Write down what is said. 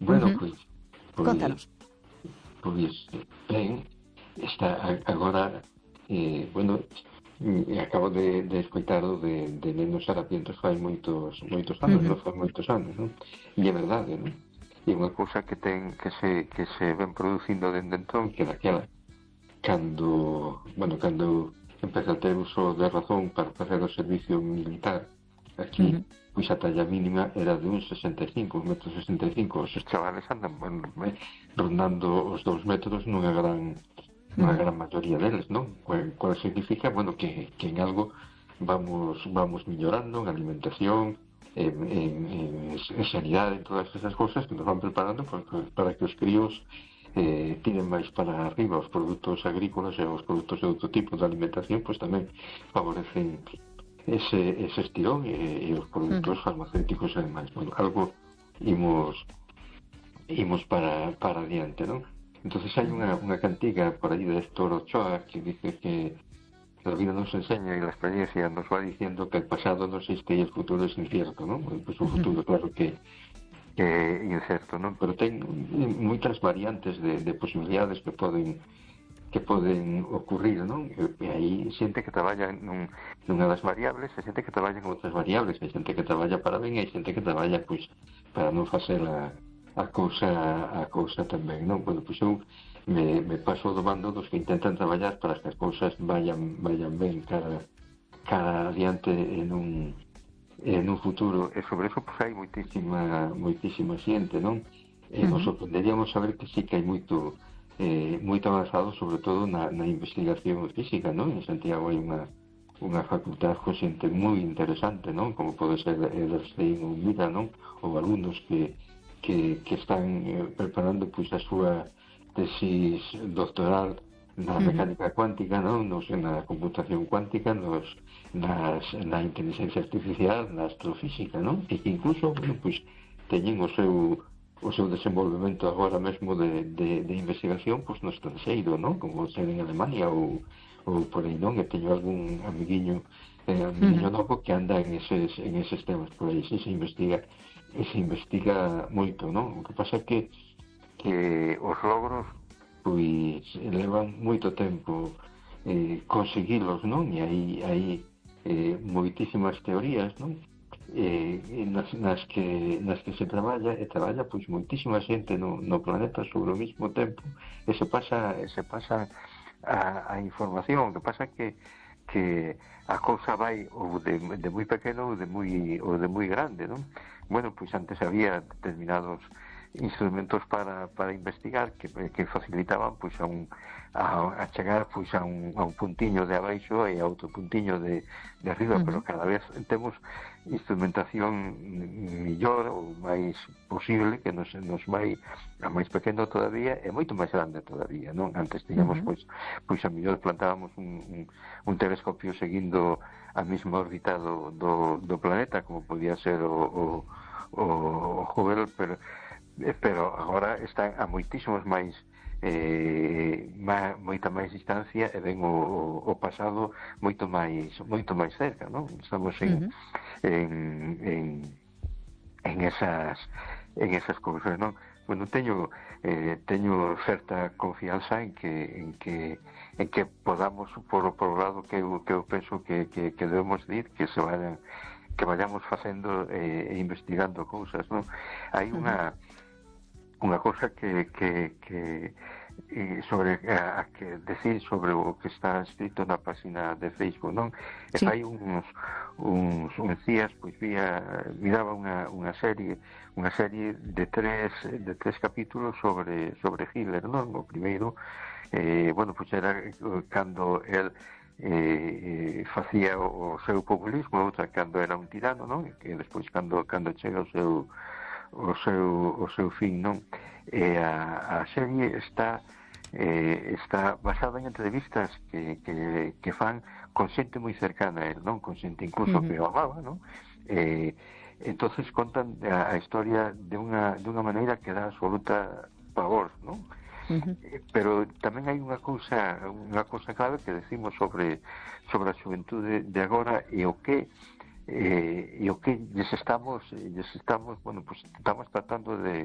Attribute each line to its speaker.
Speaker 1: Bueno, pois
Speaker 2: Contanos.
Speaker 1: ben, está agora, bueno, acabo de escoitar o de Nenos Harapientos fai moitos anos, non? Fai moitos anos, non? E é verdade, non? E unha cousa que se ven producindo dende entón, que daquela, cando empeza a ter uso de razón para facer o servicio militar aquí, pois a talla mínima era de uns 65, 1,65 m. Os chavales andan rondando os 2 metros nunha gran maioría deles, non? Cual significa, bueno, que en algo vamos mellorando en alimentación, en sanidade, en todas esas cousas que nos van preparando para que os críos tiren máis para arriba. Os produtos agrícolas e os produtos de outro tipo de alimentación pois tamén favorecen ese estirón e os produtos farmacéuticos e demais. Bueno, algo imos para adiante, non? Entonces hai unha cantiga por aí de Héctor Ochoa que dice que la vida nos enseña y la experiencia nos va diciendo que el pasado no existe y el futuro es incierto, ¿no? Pues un futuro, claro que incerto, ¿no? Pero ten moitas variantes de posibilidades que poden ocurrir, non? E aí xente que traballa nunha das variables, e xente que traballa en outras variables, e xente que traballa para ben, e xente que traballa, pois, para non facer a cousa tamén, non? Bueno, pois eu me paso do bando dos que intentan traballar para que as cousas vayan ben cara adiante en un futuro, e sobre eso pois hai moitísima xente, non? Nos sorprenderíamos saber que sí que hai moito avanzado, sobre todo na investigación física, non? En Santiago hai unha facultad con xente moi interesante, non? Como pode ser Ederstein ou Mira, non? Ou alumnos que están preparando pois a súa tesis doctoral na mecánica cuántica, non? Na computación cuántica, na inteligencia artificial, na astrofísica, non? E que incluso, bueno, pois teñen o seu desenvolvemento agora mesmo de investigación pois no estranxeiro, non? Como ser en Alemania ou por aí, non? E teño algún amiguiño novo que anda en eses temas por aí, se investiga moito, non? O que pasa é que os logros pois levan moito tempo conseguilos, non? E hai moitísimas teorías, non? Nas que se traballa pois moitísima xente no planeta sobre o mismo tempo, e se pasa a información. O que pasa que a cousa vai ou de moi pequeno ou de moi grande, non? Bueno, pois antes había determinados instrumentos para investigar que facilitaban pois a chegar pois a un puntiño de abaixo e a outro puntiño de arriba, pero cada vez temos instrumentación mellor ou máis posible, que nos vai a máis pequeno todavía e moito máis grande todavía, non? Antes tiñamos pois a mellor plantábamos un telescopio seguindo a mesma órbita do planeta, como podía ser o Hubble, pero agora están a moitísimos máis moita máis distancia e ven o pasado moito máis cerca, non? Estamos en esas cousas, non? Bueno, teño certa confianza en que podamos por o lado que eu penso que debemos ir, que vayamos facendo e investigando cousas, non? Hai unha cousa que sobre que decir sobre o que está escrito na página de Facebook, non? E fai uns días pois miraba unha serie de tres capítulos sobre Hitler, non? O primeiro bueno, pois era cando el facía o seu populismo, outra cando era un tirano, non? E que despois cando chega o seu fin, non? E a serie está basada en entrevistas que fan con xente moi cercana a él, non? Con xente incluso que o amaba, non? Entonces contan a historia de unha maneira que dá absoluta pavor, non? Pero tamén hai unha cousa clave que decimos sobre a xuventude de agora e o que lles estamos bueno, pues estamos tratando de